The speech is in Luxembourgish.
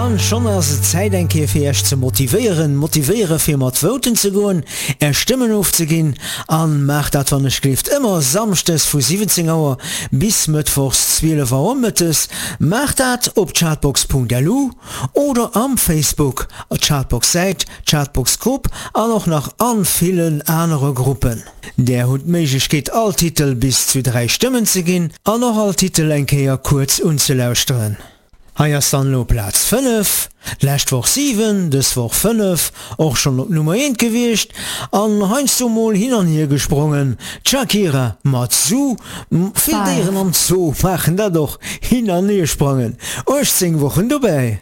An schonn ass et Zäit eng Kéier fir Iech ze motivéieren, motivéiere fir mat voten ze goen, Är Stëmmen ofzeginn. An maacht dat wann ech gleeft ëmmer Samschdes vu 17 Auer bis Mëttwochs 12 Auer mëttes. Maacht dat op chartbox.lu oder am Facebook, Chartbox Säit, Chartbox Grupp an och nach an villen anere Gruppen. Där hutt d'Méiglechkeet all Titel bis zu 3 Stëmmen ze ginn an och all Titel eng Kéier kuerz unzelauschteren. Hei ass dann elo Plaz 5, d'lescht Woch 7, dës Woch 5, och schonn op Nummer 1 gewiescht an heiansdo mol hin an hier gesprongen, d'Shakira mat Zoo. Vill Déieren am Zoo maachen dat och, hin an hier sprangen. 18 Wochen dobäi.